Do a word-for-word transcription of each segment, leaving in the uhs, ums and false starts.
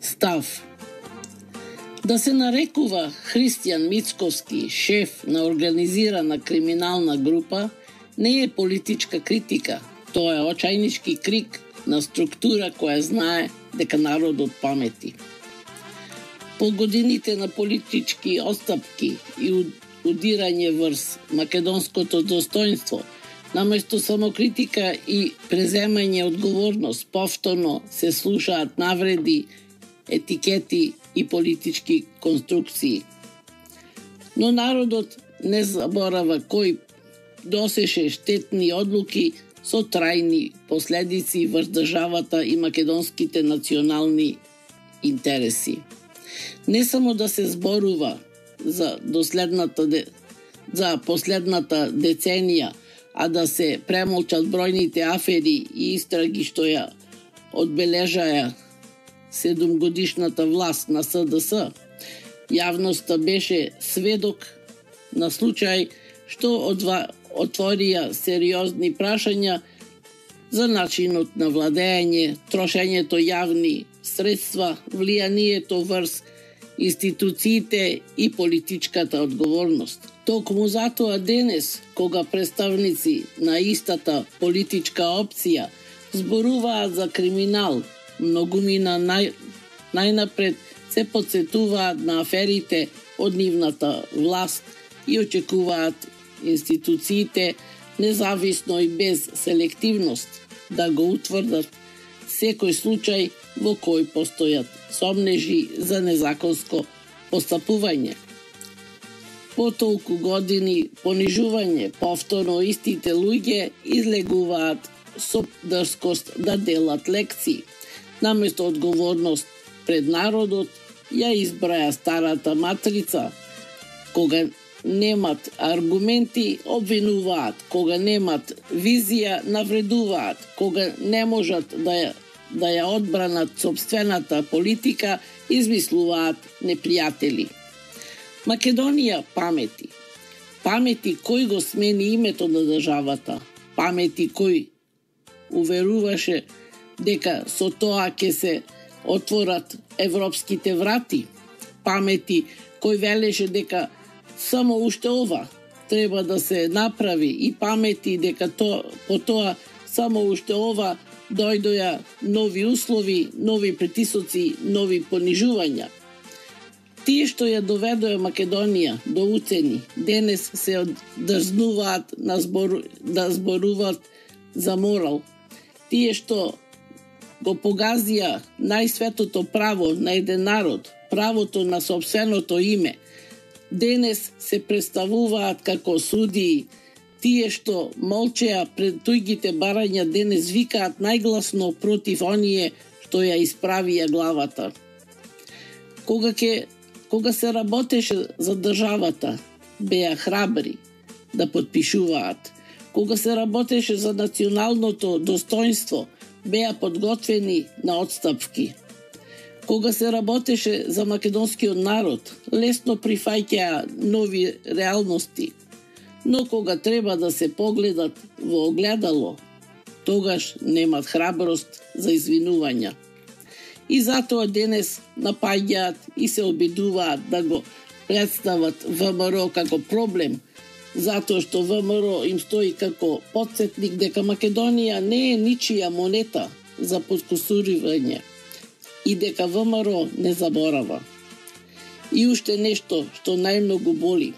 Став. Да се нарекува Христијан Мицковски шеф на организирана криминална група не е политичка критика, тоа е очајнички крик на структура која знае дека народот памети. По годините на политички отстапки и удирање врз македонското достоинство, наместо самокритика и преземање одговорност, повторно се слушаат навреди, етикети и политички конструкции. Но народот не заборава кој досеше штетни одлуки со трајни последици врз државата и македонските национални интереси. Не само да се зборува за доследната де... за последната деценија, а да се премолчат бројните афери и истраги што ја одбележаја седумгодишната власт на С Д С. Јавноста беше сведок на случај што одва... отворија сериозни прашања за начинот на владење, трошењето јавни средства, влијанието врз институциите и политичката одговорност. Токму затоа денес, кога представници на истата политичка опција зборуваат за криминал, многумина нај, најнапред се подсетуваат на аферите од нивната власт и очекуваат институциите, независно и без селективност, да го утврдат секој случај во кој постојат сомнежи за незаконско постапување. По толку години понижување, повторно истите луѓе излегуваат со дрскост да делат лекции. Наместо одговорност пред народот, ја избраја старата матрица. Кога немат аргументи, обвинуваат. Кога немат визија, навредуваат. Кога не можат да ја, да ја одбранат сопствената политика, измислуваат непријатели. Македонија памети. Памети кој го смени името на државата. Памети кој уверуваше дека со тоа ќе се отворат европските врати. Памети кој велеше дека само уште ова треба да се направи и памети дека то, по тоа само уште ова дојдоја нови услови, нови притисоци, нови понижувања. Тие што ја доведоја Македонија до уцени, денес се дрзнуваат на збор, да зборуваат за морал. Тие што го погазија најсветото право на еден народ, правото на сопственото име, денес се представуваат како судии. Тие што молчеа пред туѓите барања денес викаат најгласно против оние што ја исправија главата. Кога ке Кога се работеше за државата, беа храбри да подпишуваат. Кога се работеше за националното достоинство, беа подготвени на отстапки. Кога се работеше за македонскиот народ, лесно прифаќаа нови реалности. Но кога треба да се погледат во огледало, тогаш немат храброст за извинувања. И затоа денес напаѓаат и се обидуваат да го представат В М Р како проблем, затоа што В М Р им стои како потсетник дека Македонија не е ничија монета за подкусуривање и дека В М Р не заборава. И уште нешто што најмногу боли.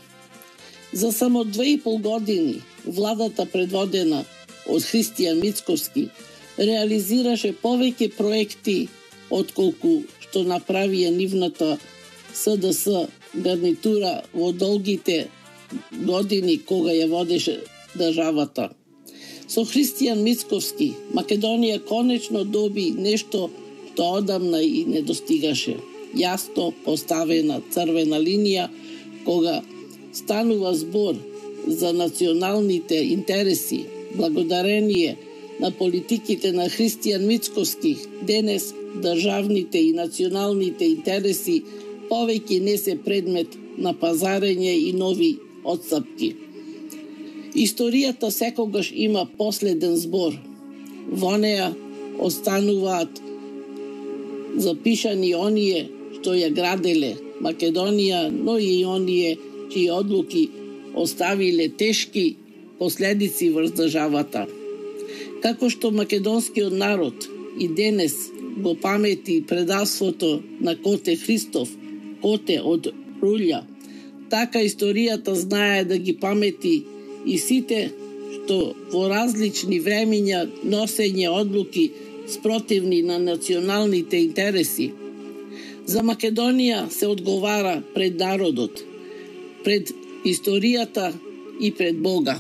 За само две и пол години владата предводена од Христијан Мицковски реализираше повеќе проекти отколку што направија нивната С Д С гарнитура во долгите години кога ја водеше државата. Со Христијан Мицковски Македонија конечно доби нешто што одамна и не достигаше. Јасно поставена црвена линија кога станува збор за националните интереси, благодарение на политиките на Христијан Мицковски, денес државните и националните интереси повеќе не се предмет на пазарење и нови отстапки. Историјата секогаш има последен збор. Во неа остануваат запишани оние што ја граделе Македонија, но и оние чии одлуки оставиле тешки последици врз државата. Како што македонскиот народ и денес го памети предавството на Коте Христов, Коте од Рулја, така историјата знае да ги памети и сите што во различни времиња носење одлуки спротивни на националните интереси. За Македонија се одговара пред народот, пред историјата и пред Бога.